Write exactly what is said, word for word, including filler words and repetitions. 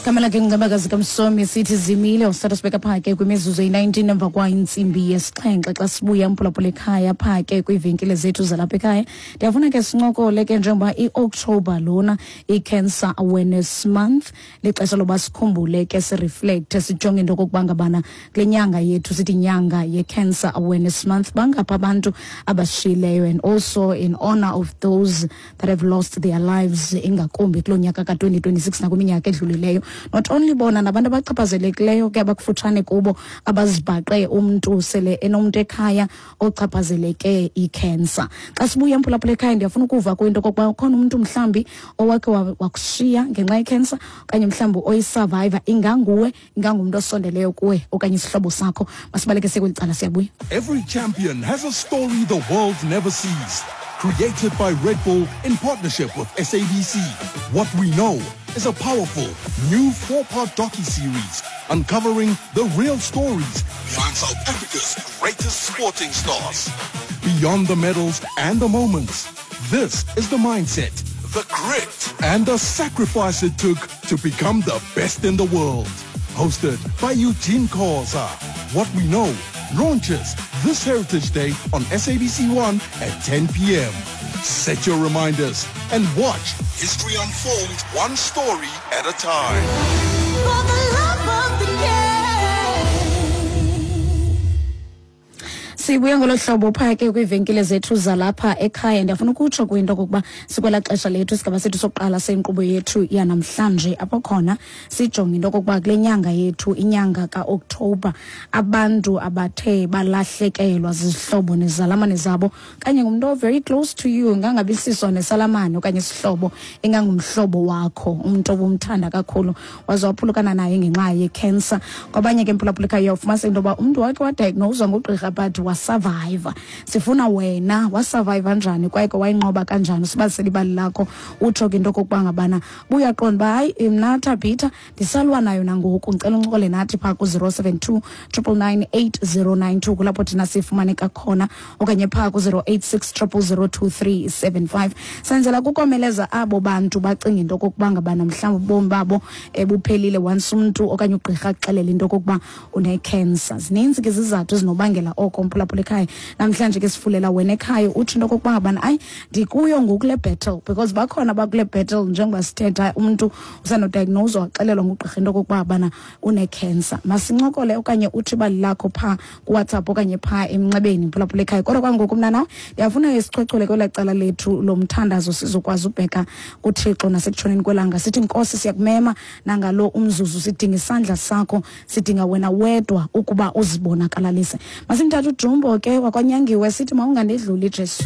Igama lakhe nguNcebakazi kaMsomi, sithi zimile usithatha sibeka pha ke kwimizuzu eyi-nineteen emva kwa intsimbi yesixhenxe. Xa sibuya, mphulaphula ekhaya, pha ke kwiivenkile zethu zalapha ekhaya, ndiyafuna ke sincokole ke njengoba i-October lona i-Cancer Awareness Month, lixesha loba sikhumbule ke, sireflect, sijonge into okokuba ngabana kule nyanga yethu sithi inyanga ye-Cancer Awareness Month, bangaphi abantu abashiyileyo, and also in honor of those that have lost their lives, ingakumbi kuloo nyaka ka-twenty twenty-six nakwiminyaka edlulileyo. Not only bona, nabantu abachaphazelekileyo ke abakufutshane kubo, abazibhaqe umntu sele enomntu ekhaya ochaphazeleke ikhensa. Xa sibuya, mphulaphula ekhaya, ndiyafuna ukuva kwinto okokuba ukhona umntu mhlawumbi owakhe wa- wakushiya ngenxa yekhensa, okanye mhlawumbi oyisurvivor, inganguwe, ingangumntu osondeleyo kuwe okanye isihlobo sakho. Masibaleke siye kweli cala, siyabuya. Every champion has a story the world never sees. Created by Red Bull in partnership with S A B C. What We Know is a powerful new four-part docu-series uncovering the real stories behind South Africa's greatest sporting stars. Beyond the medals and the moments, this is the mindset, the grit, and the sacrifice it took to become the best in the world. Hosted by Eugene Khoza. What We Know launches this Heritage Day on S A B C one at ten p m. Set your reminders and watch history unfold one story at a time. For the love of the game. Sibuya ngolo hlobo phaa ke kwiivenkile zethu zalapha ekhaya. Ndiyafuna ukutsho kwinto okokuba sikwelaa xesha lethu, isigaba sethu sokuqala senkqubo yethu yanamhlanje, apho khona sijonge into okokuba kule nyanga yethu, inyanga kaOkthobha, abantu abathe balahlekelwa zizihlobo nezalamane zabo, okanye ngumntu o-very close to you, ingangabi siso nesalamane okanye isihlobo, ingangumhlobo wakho, umntu obumthanda kakhulu, waze waphulukana naye ngenxa yekhensa. Kwabanye ke, mphulaphula ekhaya, ufumanise into yoba umntu wakhe wadiagnoswa ngugqirha but wasurviva. Sifuna wena, wasurviva njani kwaye ke wayinqoba kanjani? Usibalisele ibali lakho, utsho ke into okokuba ngabana buyaqonda uba hayi, mna Thabitha ndisalwa nayo nangoku. Ndicela uncokole nathi phaa ku-zero seven two triple nine eight zero nine two, kulapho thina sifumaneka khona, okanye phaa ku-zero eight six triple zero two three seven five. Senzela kukomeleza abo bantu bacinga into okokuba ngabana mhlawumbi ubomi babo um buphelile once umntu okanye ugqirha akuxelela into okokuba unekhensa. Zininzi ke izizathu ezinobangela oko, mphulaphula ekhaya. Namhlanje ke sifulela wena ekhaya, utsho into okokuba ngabana ayi, ndikuyo ngoku le battle, because bakhona abakule battle njengoba sithetha. Umntu usanodiagnoswa, waxelelwa ngugqirha into okokuba ngabana unekhensa. Masincokole okanye utsho ibali lakho phaa kuWhatsApp okanye phaa emnxebeni, mphulaphula ekhaya. Kodwa kwangoku mna nawe ndiyafuna sichwechwele kwelaa cala lethu lomthandazo, sizokwazi ubheka kuThixo nasekutshoneni kwelanga. Sithi, Nkosi, siyakumema nangalo umzuzu, sidinga isandla sakho, sidinga wena wedwa ukuba uzibonakalalise. Masimthathe uJumbo ke wakwanyangiwe, sithi mawungandedluli, Jesu.